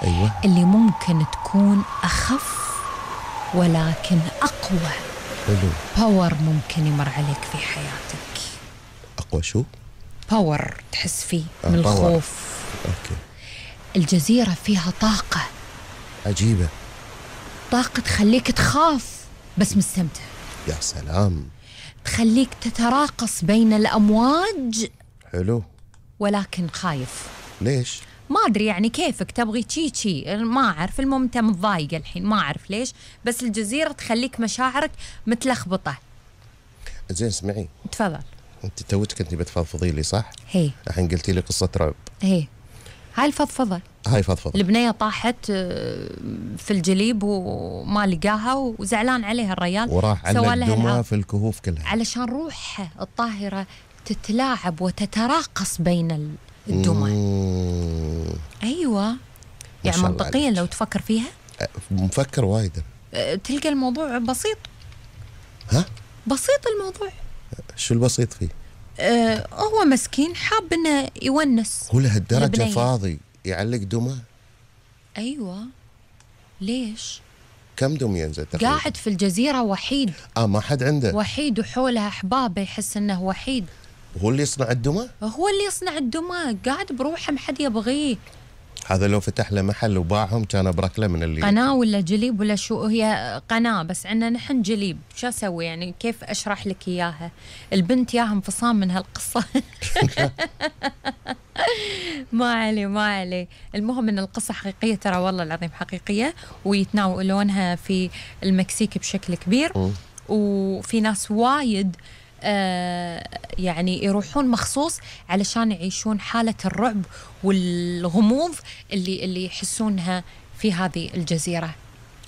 أيوة. اللي ممكن تكون أخف ولكن أقوى. حلو. باور ممكن يمر عليك في حياتك. أقوى شو؟ باور تحس فيه من باور. الخوف. أوكي. الجزيرة فيها طاقة عجيبة. طاقة تخليك تخاف بس مستمتع. يا سلام. تخليك تتراقص بين الأمواج. حلو. ولكن خايف. ليش؟ ما أدري يعني كيفك تبغي تشي ما أعرف. المهم أنت متضايق الحين ما أعرف ليش، بس الجزيرة تخليك مشاعرك متلخبطة. زين اسمعي. تفضل. أنت توك كنتي بتفضفضي لي صح؟ هي الحين قلتي لي قصة رعب. هي هاي الفضفضة. هاي فضفضة. البنية طاحت في الجليب وما لقاها وزعلان عليها الريال، وراح على الدمى في الكهوف كلها علشان روحها الطاهرة تتلاعب وتتراقص بين الدمى. أيوة يعني منطقيا لو تفكر فيها. مفكر وايد. تلقى الموضوع بسيط. ها؟ بسيط الموضوع. شو البسيط فيه؟ هو مسكين حاب انه يونس. هو لهالدرجة فاضي يعلق دمى؟ ايوه. ليش؟ كم دم ينزل تقريبا؟ قاعد في الجزيرة وحيد. ما حد عنده. وحيد وحولها احبابه، يحس انه وحيد. هو اللي يصنع الدمى؟ هو اللي يصنع الدمى، قاعد بروحه ما حد يبغيه. هذا لو فتح له محل وباعهم كان بركله من اللي قناة ولا جليب ولا شو. هي قناة بس عندنا نحن جليب. شو اسوي يعني؟ كيف اشرح لك اياها؟ البنت ياها انفصام من هالقصة. ما علي. المهم ان القصة حقيقية ترى، والله العظيم حقيقية، ويتناولونها في المكسيك بشكل كبير. وفي ناس وايد يعني يروحون مخصوص علشان يعيشون حالة الرعب والغموض اللي يحسونها في هذه الجزيرة.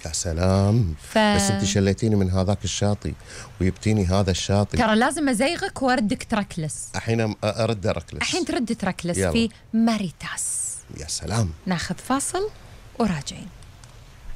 يا سلام. بس انت شليتيني من هذاك الشاطئ ويبتيني هذا الشاطئ. ترى لازم ازيغك واردك تركلس. الحين ارد اركلس. الحين ترد تركلس يلا. في ماريتاس. يا سلام. ناخذ فاصل وراجعين.